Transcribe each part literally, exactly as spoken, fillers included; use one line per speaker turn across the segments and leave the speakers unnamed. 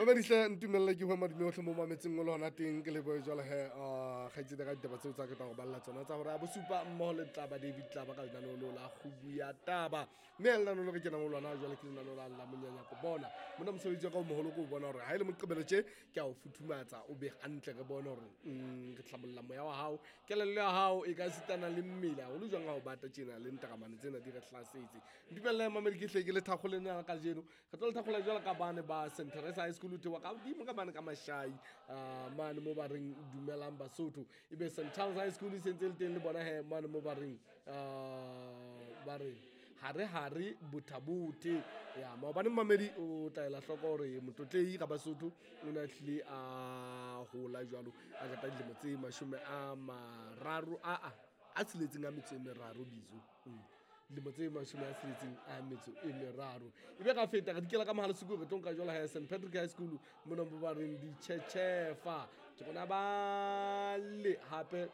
Mamedihle, ntumelle ke hwe madume ohle mo mametseng o le hona teng. Ke lebohe jwale he uh, kgaitsedi ka ditaba tseo tsa ke tla go balla tsona tsa gore a bosupa mmoho le Tlaba David Tlaba ka lenaneo leo la kgubu ya taba. Mme ha lenaneo le re kenang ho lona jwale ke lenaneo la la monyanyako. Bona mona, mosebetsi wa ka o moholo ke o bona hore ha e le Moqebelo tje, ke a o futhumatsa, o be hantle, re bone hore mm, re hlabolla moya wa hao, kelello ya hao e ka sitana le mmele haholo jwang ha o bata tjena le ntaramane tsena di re hlasetse. Ntumelle, mamedi, ke hle ke le thakgoleng la kajeno. Re tlo le thakgola jwalo ka bane ba Saint Teresa High School, thewa ka hodimo ka mane ka Mashai, uh, mane mo ba reng dumelang Basotho. Ebe Saint Charles High School e sentse le teng le bona he mane mo ba reng uh, ba reng hare hare bothabothe ya maobane. Mamedi, o tla ela hloko hore motlotlei ga Basotho o ne a tlile a hola jwalo, a qeta dilemo tse mashome a mararo a a a tsheletseng a metso e meraro bizo. Mm. Dilemo tse mashome a tsheletseng a metso e meraro. Ebe ka feta re dikela ka Mohalesuku, re tlo nka jwalo ha Saint Patrick High School mona mo ba reng ditšhetšhefa ke gona ba le hape.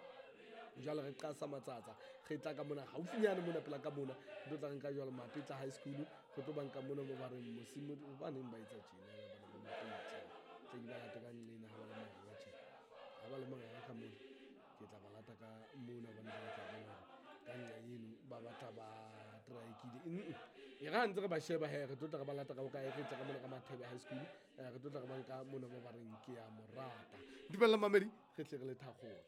Jwale re qasa matsatsa, re tla ka mona haufinyane mona pela ka mona, re tlo tla re nka jwalo Mapetla High School, re tlo banka mona mo ba reng mosimo baneng ba etsa tjena bana ba Mapetla. Tla ke ba late ka nqena ha ba le manganga tjena, ha ba le manganga ka mona, ke tla ba lata ka mona hobane jwale ke a bona hore ka nqa eno ba batla ba traekile. E re ha ntse re ba sheba he, re tlo tla re ba lata ka bokae? Re tla ka mona ka Mathebe High School, eh, re tlo tla re ba nka mona mo ba reng ke ya morata. Dumella, mamedi, re tle re le thakgole.